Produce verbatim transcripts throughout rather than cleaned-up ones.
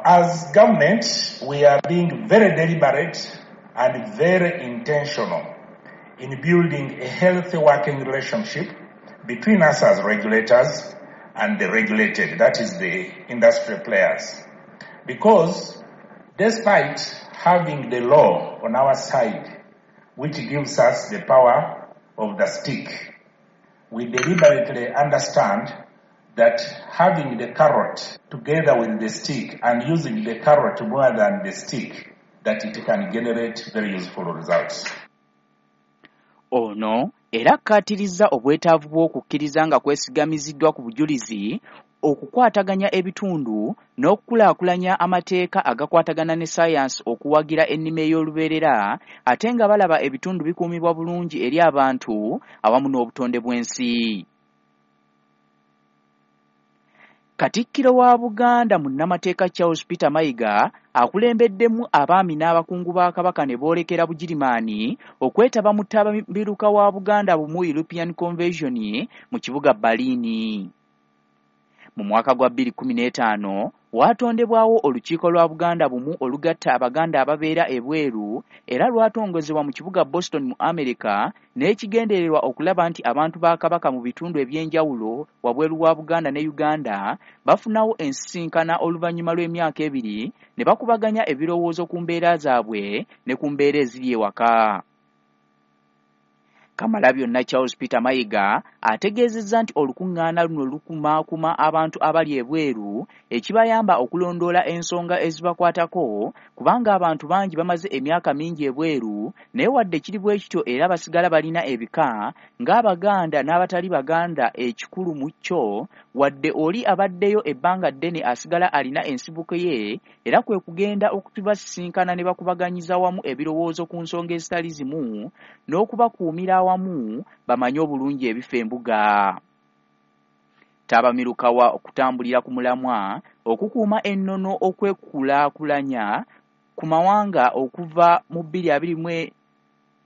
Now, as government, we are being very deliberate and very intentional in building a healthy working relationship between us as regulators and the regulated, that is the industry players. Because despite having the law on our side, which gives us the power of the stick, we deliberately understand that having the carrot together with the stick and using the carrot more than the stick, that it can generate very useful results. Ono era akkaatirizza obwetaavu bw'okukkiriza nga kwesigamiziddwa ku bujulizi, okukwataganya ebitundu n'okukulaakulanya amateeka agakwatagana ne ssaayansi okuwagira ennima ey'olubeerera, ate nga balaba ebitundu bikuumibwa bulungi eri abantu awamu n'obutonde bw'ensi. Katikkiro wa Buganda munnamateeka Charles Peter Mayiga akulembeddemu abaami n'abakungu ba Kabaka ne boolekera Bugirimaani okwetaba mu ttabamiruka wa Buganda Bumu European Convention mu kibuga Berlin. Mu mwaka gwa bbiri kkumi n'etaano waatondebwawo olukiiko lwa Buganda Bumu olugatta Abaganda ababeera ebweru, era lwatongozebwa mu kibuga Boston mu America n'ekigendererwa okulaba nti abantu ba Kabaka mu bitundu eby'enjawulo wabweru wa Buganda ne Uganda bafunawo ensisinkana oluvannyuma lw'emyaka ebiri ne bakubaganya ebirowoozo ku mbeera zaabwe ne ku mbeera eziri ewaka. Kamalabyonna Charles Peter Mayiga ategeezezza nti olukuŋŋaana luno lukumaakuma abantu abali ebweru ekibayamba okulondoola ensonga ezibakwatako, kubanga abantu bangi bamaze emyaka mingi ebweru, naye wadde kiri bwe kityo era basigala balina ebika ng'Abaganda n'abatali Baganda. Ekikulu mu kyo, wadde oli abaddeyo ebbanga ddene asigala alina ensibuko ye, era kwe kugenda okubasisinkana ne bakubaganyiza wamu ebirowoozo ku nsonga ezitali zimu n'okubakuumira awamu bamanye obulungi ebifo embuga. Ttabamiruka wa okutambulira ku mulamwa okukuuma ennono okwekulaakulanya ku mawanga okuva mu bbiri abiri mu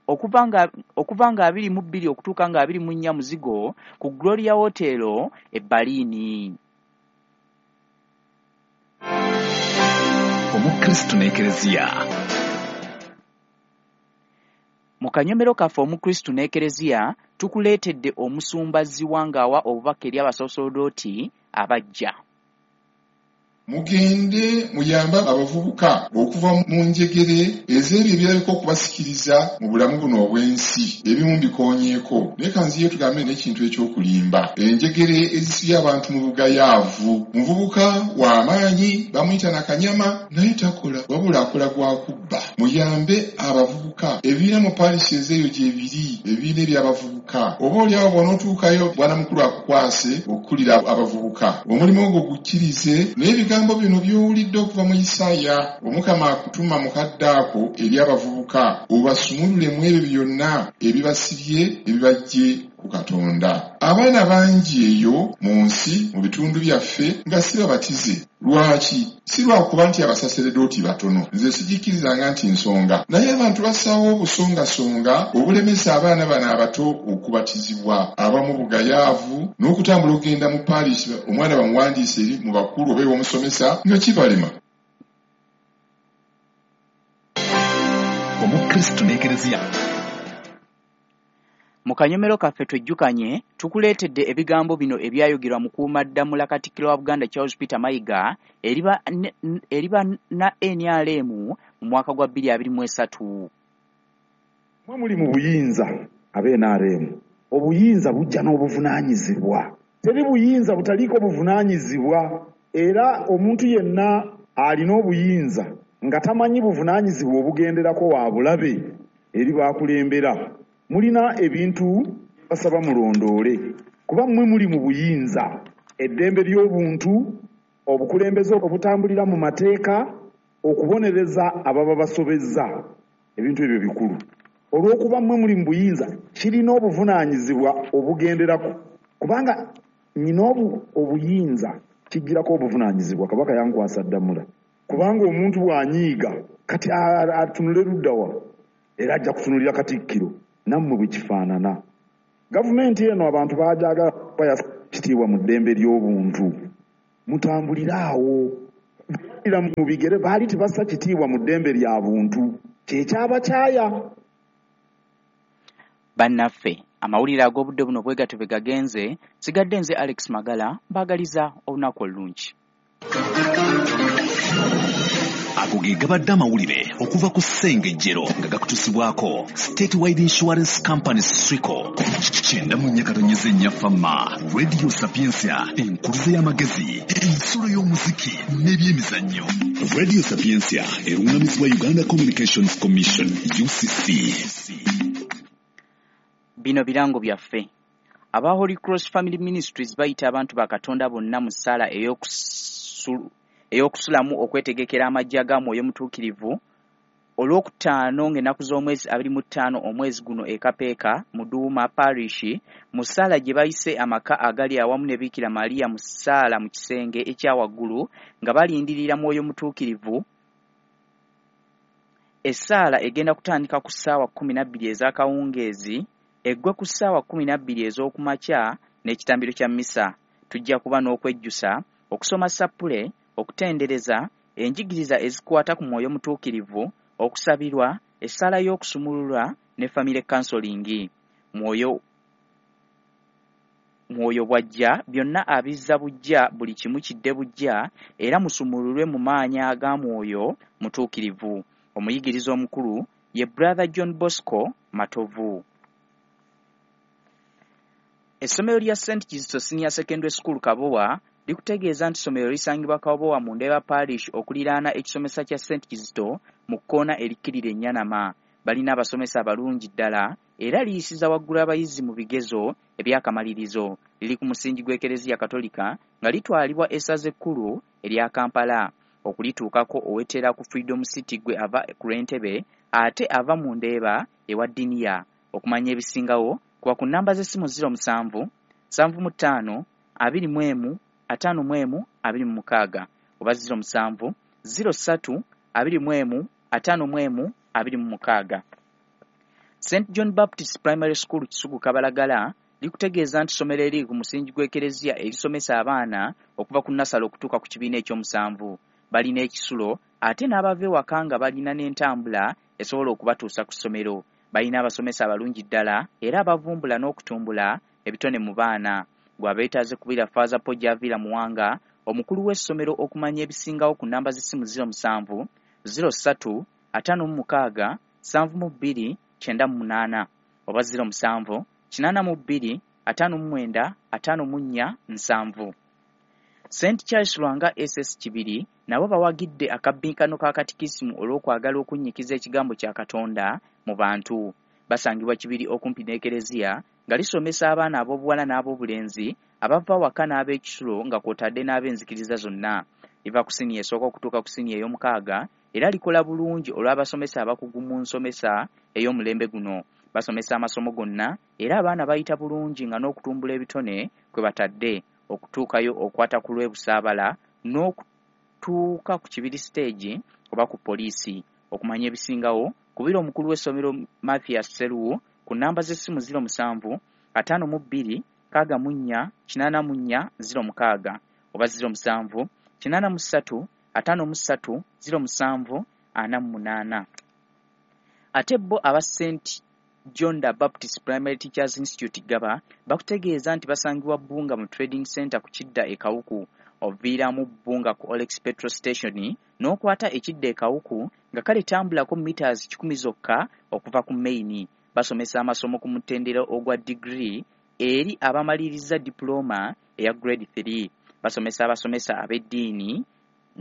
okuva nga okuva nga abiri mu bbiri okutuuka nga abiri mu nnya muzigo ku Gloria Hotel e Berlin. Omukristo n'Ekereziya. Mu kanyomero kaffe Omukristo n'Ekereziya tukuleetedde omusumba Zziwa ng'awa obubaka eri abasosodooti abajja. Mugende muyambe abavubuka okuva mu njegere ez'ebyo ebirabika okubasikiriza mu bulamu buno obw'ensi. Ebimu mbikoonyeeko, naye kanziye tugambe n'ekintu eky'okulimba. Enjegere ezisibye abantu mu bugayaavu. Muvubuka w'amaanyi bamuyita nakanyama, naye takola, wabula akola gwa kubba. Muyambe abavubuka. Ebibiina mu paarisi ezeeyo gye biri, ebibiina eby'abavubuka. Oba oliawo bw'onootuukayo bwana mukulu akukwase okukulira abavubuka. Omulimu ogwo gukkirize, naye ebigambo bino by'owulidde okuva mu Isaaya, Omukama akutuma mu kadde ako eri abavubuka, obasumulule mu ebyo byonna ebibasibye ebibajje ku Katonda. Abaana bangi eyo mu nsi, mu bitundu byaffe, nga si babatize. Lwaki? Si lwakuba nti abasaseredooti batono, nze sigikkirizanga nti nsonga, naye abantu bassaawo obusongasonga obulemesa abaana bano abato okubatizibwa. Abamu bugayaavu n'okutambula okugenda mu paarisi, omwana bamuwandiise eri mu bakulu oba ew'omusomesa nga kibalema. Omukristo n'Ekereziya. Mu kanyomero kaffe twejjukanye tukuleetedde ebigambo bino ebyayogerwa Mukuumaddamula Katikkiro wa Buganda Charles Peter Mayiga eri banna N R M mu mwaka gwa bbiri abiri mu esatu. Mwe muli mu buyinza aba N R M, obuyinza bujja n'obuvunaanyizibwa. Teri buyinza butaliiko buvunaanyizibwa, era omuntu yenna alina obuyinza nga tamanyi buvunaanyizibwa obugenderako wa bulabe eri baakulembera. Mulina ebintu basaba mulondoole, kuba mmwe muli mu buyinza. Eddembe ly'obuntu, obukulembeze obutambulira mu mateeka, okubonereza ababa basobezza, ebintu ebyo bikulu. Olw'okuba mmwe muli mu buyinza, kirina obuvunaanyizibwa obugenderako, kubanga nnyina obuyinza kijjirako obuvunaanyizibwa. Kabaka yankwasa ddamula, kubanga omuntu bw'anyiiga kati atunule ludda wa, era ajja kutunulira Katikkiro. Nammwe bwe kifaanana. Gavumenti eno abantu baajagala kuba kitiibwa mu ddembe ly'obuntu. Mutambulire awo, Mu bigere baali tebassa kitiibwa mu ddembe lya buntu, kyekyabakyaya. Bannaffe, amawulire ag'obudde buno bwe gatyo bwe gagenze. Sigadde nze Alex Magala, mbaagaliza olunaku olulungi. Ago ge gabadde amawulire okuva ku Ssengejjero nga gakutusibwako Statewide Insurance Company Swico. Kyenda mu nnya katonyeze nnya Fama Radio Sapientia, enkuluze y'amagezi, ensulo y'omuziki n'ebyemizannyo. Radio Sapientia erungamizibwa Uganda Communications Commission U C C. Bino birango byaffe. Aba Holy Cross Family Ministries bayita abantu ba Katonda bonna mu ssaala ey'okusulamu okwetegekera amajja ga Mwoyo Mutuukirivu olwokutaano ng'ennaku z'omwezi abiri mu ttaano omwezi guno e Kapeeka mu Duuma Parish, mu ssaala gye bayise amaka agali awamu ne Bikira Maria mu ssaala mu kisenge ekya waggulu nga balindirira Mwoyo Mutuukirivu. Essaala egenda kutandika ku ssaawa kkumi na bbiri ez'akawungeezi eggwe ku ssaawa kkumi na bbiri ez'okumakya n'ekitambiro kya mmisa. Tujja kuba n'okwejjusa, okusoma sappule, okutendereza, enjigiriza ezikwata ku Mwoyo Mutuukirivu, okusabirwa, essaala y'okusumululwa ne family counseling. Mwoyo Mwoyo bw'ajja byonna abizza buggya, buli kimu kidde buggya, era musumululwe mu maanyi aga Mwoyo Mutuukirivu. Omuyigiriza omukulu ye Brother John Bosco Matovu. Essomero lya Saint Kizito Senior Secondary School Kabowa likutegeeza nti essomero lisangibwa Kabowa mu Ndeeba Parish okuliraana ekisomesa kya Saint Kizito mu kkoona erikkirira Ennyanama. Balina abasomesa abalungi ddala era liyisiza waggulu abayizi mu bigezo eby'akamalirizo. Liri ku musingi gw'Ekereziya Katolika nga litwalibwa essaza ekkulu erya Kampala. Okulituukako owetera ku Freedom City gwe ava ku lw'Entebe ate ava mu Ndeeba ewa Diniya. Okumanya ebisingawo kuba ku nnamba z'essimu ziro musanvu, nsanvu mu ttaano, abiri mu emu, ataano mu emu, abiri mu mukaaga oba ziro musanvu, ziro ssatu, abiri mu emu, ataano mu emu, abiri mu mukaaga. Saint John Baptist Primary School Kisugu Kabalagala likutegeeza nti ssomero eriri ku musingi gw'Ekereziya erisomesa abaana okuva ku nnasale okutuuka ku kibiina ekyomusanvu. Balina ekisulo ate n'abava ewaka nga balina n'entambula esobola okubatuusa ku ssomero. Balina abasomesa abalungi ddala era abavumbula n'okutumbula ebitone mu baana. Gwe abeetaaze kubira Faaza Paul Javira Muwanga, omukulu w'essomero, okumanya ebisingawo ku nnamba z'essimu ziro musanvu, ziro ssatu, ataano mu mukaaga, nsanvu mu bbiri, kyenda mu munaana oba ziro musanvu, kinaana mu bbiri, ataano mu mwenda, ataano mu nnya, nsanvu. Saint Charles Lwanga S S Kibiri nabo bawagidde akabbinkano ka katikisimu olw'okwagala okunnyikiza ekigambo kya Katonda mu bantu. Basangibwa Kibiri okumpi n'Ekereziya nga lisomesa abaana ab'obuwala n'ab'obulenzi abava waka n'ab'ekisulo nga kw'otadde n'ab'enzikiriza zonna. Liva ku siniya esooka okutuuka ku siniya ey'omukaaga era likola bulungi olw'abasomesa abakugu mu nsomesa ey'omulembe guno. Basomesa amasomo gonna era abaana bayita bulungi nga n'okutumbula ebitone kwe batadde. Okutuukayo okwata ku lw'e Busaabala n'okutuuka ku Kibiri stage oba ku poliisi. Okumanya ebisingawo kubira omukulu w'essomero Mathias Sseruwu ku nnamba z'essimu ziro musanvu, ataano mu bbiri, nkaaga mu nnya, kinaana mu nnya, ziro mukaaga oba ziro musanvu, kinaana mu ssatu, ataano mu ssatu, ziro musanvu, ana mu munaana. Ate bo aba Saint John the Baptist Primary Teachers Institute Gaba bakutegeeza nti basangibwa Bbunga mu Trading Center ku kidda e Kawuku. Oviiramu Bbunga ku Olex Petrol Station n'okwata ekidda e Kawuku nga kale tambulako meters kikumi zokka okuva ku main. Basomesa amasomo ku mutendera ogwa degree eri abamaliriza diploma eya grade three. Basomesa abasomesa ab'eddiini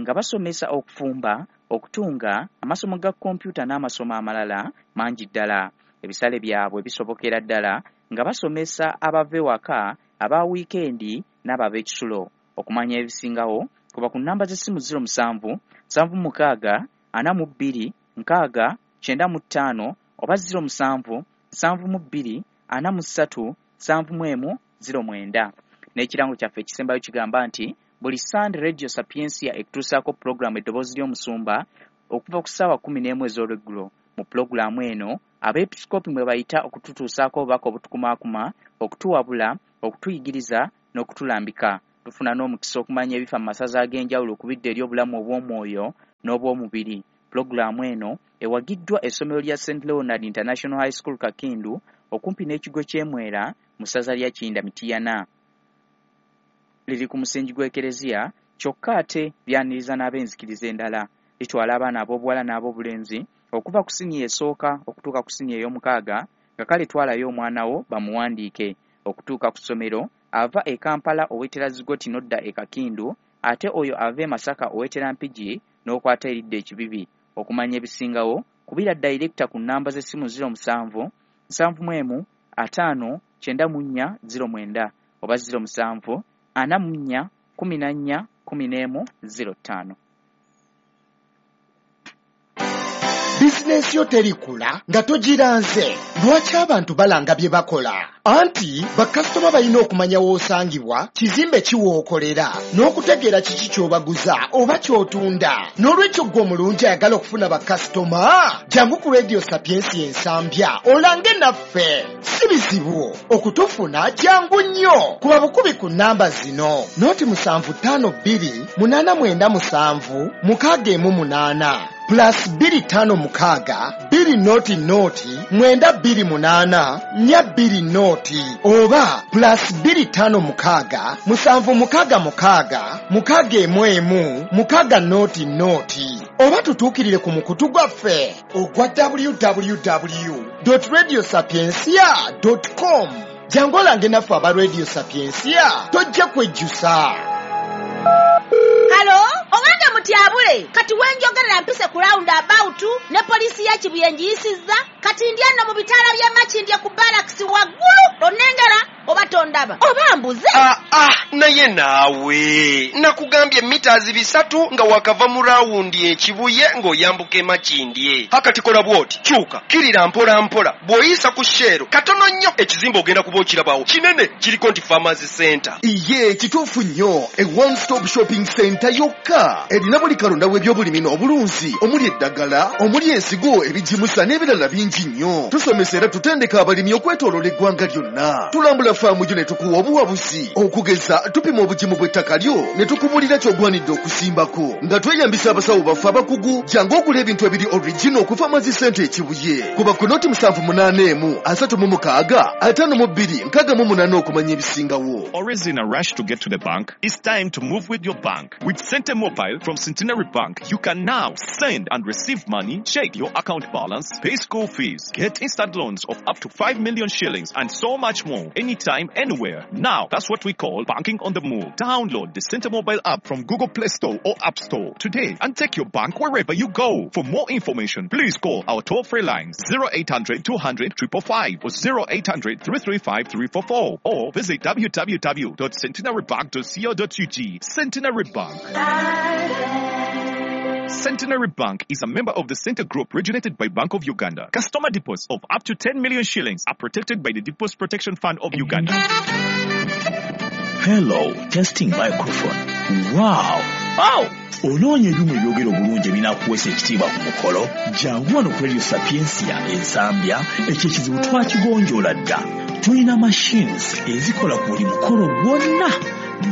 nga basomesa okufumba, okutunga, amasomo ga kompyuta n'amasomo amalala mangi ddala. Ebisale byabwe bisobokera ddala nga basomesa abava ewaka, aba wiikendi n'ab'ekisulo. Okumanya ebisingawo kuba ku nnamba z'essimu ziro musanvu, nsanvu mukaaga, ana mu bbiri, nkaaga, kyenda mu ttaano oba ziro musanvu, nsanvu mu bbiri, ana mu ssatu, nsanvu mu emu, ziro mwenda. N'ekirango kyaffe ekisembayo kigamba nti buli Sunday Radio Sapientia ekutuusaako pulogulaamu Eddoboozi ly'Omusumba okuva ku ssaawa kkumi n'emu ez'olweggulo. Mu pulogulaamu eno abeepisikoopi mwe bayita okututuusaako obubaka obutukumaakuma, okutuwabula, okutuyigiriza n'okutulambika. Tufuna n'omukisa okumanya ebifa mu masaza ag'enjawulo ku bidda eri obulamu obw'omwoyo n'obw'omubiri. Pulogulaamu eno ewagiddwa essomero lya Saint Leonard International High School Kakindu okumpi n'ekigo ky'e Mwera mu ssaza lya Kiyinda Mityana. Liri ku musingi gw'Ekereziya, kyokka ate lyaniriza n'ab'enzikiriza endala. Litwala abaana ab'obuwala n'ab'obulenzi okuva ku siniya esooka okutuuka ku siniya ey'omukaaga, nga kale twalayo omwana wo bamuwandiike. Okutuuka ku ssomero, ava e Kampala owetera Zigoti n'odda e Kakindu, ate oyo ava e Masaka owetera Mpigi n'okwata eridda Ekibibi. Okumanya ebisingawo, kubira dayirekita ku nnamba z'essimu ziro musanvu nsanvu mu emu ataano kyenda mu nnya ziro mwenda oba ziro musanvu ana mu nnya kumi na nnya kumi n'emu ziro ttaano. Bizinensi yo terikula nga togiranze. Lwaki abantu balanga bye bakola? Anti bakasitoma balina okumanya w'osangibwa, kizimbe ki w'okolera, n'okutegeera kiki ky'obaguza oba ky'otunda. N'olwekyo ggwe omulungi ayagala okufuna bakasitoma, jangu ku Radio Sapiensia Ensambya olange naffe. Si bizibu okutufuna, jangu nnyo. Kuba bukubi ku nnamba zino: noti musanvu ttaano bbiri munaana mwenda musanvu mukaaga emu munaana, plus bbiri ttaano mukaaga bbiri noti noti mwenda bbiri munaana nnya bbiri noti, oba plus bbiri ttaano mukaaga musanvu mukaaga mukaaga mukaaga emu emu mukaaga noti noti, oba tutuukirire ku mukutu gwaffe ogwa W W W radio sapiencia com. Jangu olange naffe aba Radio Sapiencia, tojja kwejjusa. Halo, owange mutyabule, kati wenjogerera mpise ku round about ne poliisi ya Kibuye ngiyisizza, kati ndi eno mu bitaala by'e Makindye ku barracks waggulu, onnengera oba tondaba oba mbuze? Ah, ah, naye naawe nakugambye mitazi bisatu nga wakava mu rawundi Ekibuye ng'oyambuka Emakindye. Hakati kola bw'oti, kyuka kirira mpola mpola, bw'oyisa ku Shell katono nnyo, ekizimbe ogenda kuba okirabawo kinene, kiriko nti Farmers Center. Iye, kituufu nnyo. E one stop shopping center yokka erina buli kalonda w'ebyobulimi n'obulunzi, omuli eddagala, omuli ensigo, ebigimusa n'ebirala bingi nnyo. Tusomesa era tutendeka abalimi okwetooloola eggwanga lyonna. Tulambula faamu gyo ne tukuwa obuwabuzi. Okugeza, tupima obugimu bw'ettaka lyo ne tukubulira ky'ogwanidde okusimbako nga tweyambisa abasawo baffe abakugu. Jangu ogula ebintu ebiri original ku Farmers Center Ekibuye. Kuba ku noti musanvu munaana emu asatu mu mukaaga ataano mu bbiri nkaaga mu munaana okumanya ebisingawo. Always in a rush to get to the bank? It's time to move with your bank. With Sente Mobile from Centenary Bank, you can now send and receive money, check your account balance, pay school fees, get instant loans of up to five million shillings, and so much more. Anytime, anywhere. Now, that's what we call banking on the move. Download the Sente Mobile app from Google Play Store or App Store today and take your bank wherever you go. For more information, please call our toll-free lines zero eight hundred two hundred five five five or zero eight hundred three three five three four four or visit w w w dot centenarybank dot co dot u g. Centenary Bank. Centenary Bank is a member of the Center Group regulated by Bank of Uganda. Customer deposits of up to ten million shillings are protected by the Deposit Protection Fund of Uganda. Hello, testing microphone. Wow. Wow! Onoonya ebyuma ebyogera obulungi ebinaakuweesa ekitiibwa ku mukolo? Jangu wano ku Radio Sapiencia Ensambya, ekyo ekizibu twakigonjoola dda. Tulina machines ezikola ku buli mukolo gwonna: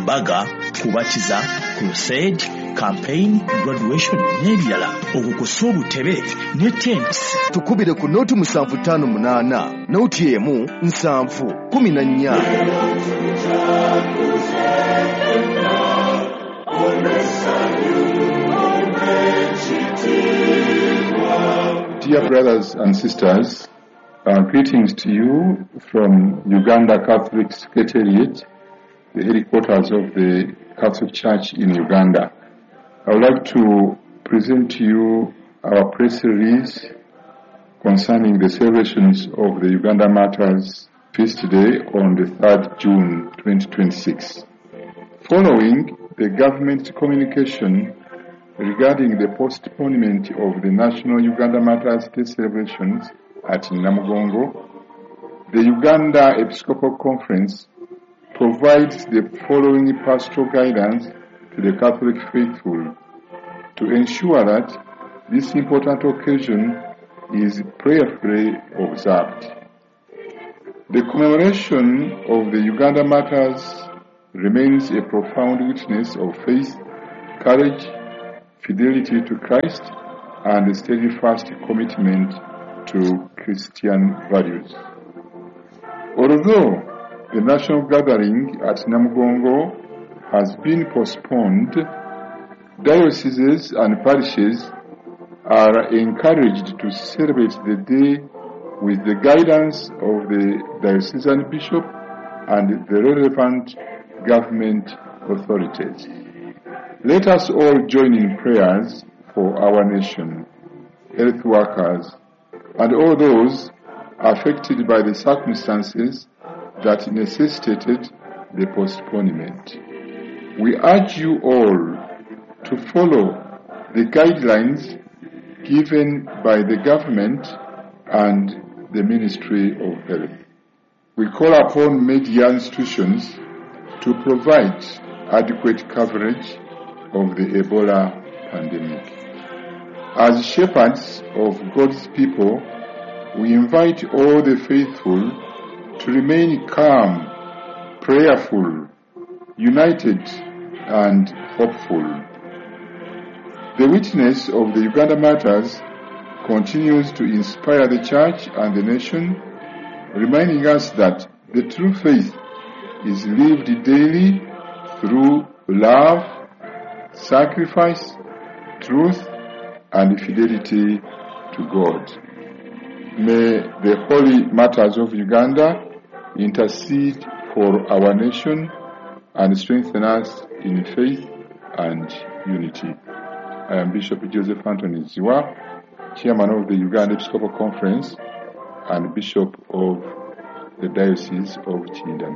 mbaga, kubatiza, crusade, campaign, graduation n'ebirala, okwo kw'ossa obutebe ne tents. Tukubire ku noti musanvu ttaano munaana noti emu nsanvu kumi na nnya. Dear brothers and sisters, uh, greetings to you from Uganda Catholic Secretariat, the headquarters of the Catholic Church in Uganda. I would like to present to you our press release concerning the celebrations of the Uganda Martyrs Feast Day on the third June twenty twenty-six. Following the government communication regarding the postponement of the National Uganda Martyrs Day celebrations at Namugongo, the Uganda Episcopal Conference provides the following pastoral guidance to the Catholic faithful to ensure that this important occasion is prayerfully observed. The commemoration of the Uganda Martyrs remains a profound witness of faith, courage, fidelity to Christ, and a steadfast commitment to Christian values. Although the national gathering at Namugongo has been postponed, dioceses and parishes are encouraged to celebrate the day with the guidance of the diocesan bishop and the relevant government authorities. Let us all join in prayers for our nation, health workers, and all those affected by the circumstances that necessitated the postponement. We urge you all to follow the guidelines given by the government and the Ministry of Health. We call upon media institutions to provide adequate coverage of the Ebola pandemic. As shepherds of God's people, we invite all the faithful to remain calm, prayerful, united, and hopeful. The witness of the Uganda Martyrs continues to inspire the Church and the nation, reminding us that the true faith is lived daily through love, sacrifice, truth, and fidelity to God. May the holy martyrs of Uganda intercede for our nation and strengthen us in faith and unity. I am Bishop Joseph Anthony Zziwa, Chairman of the Uganda Episcopal Conference and Bishop of the Diocese of Kiyinda.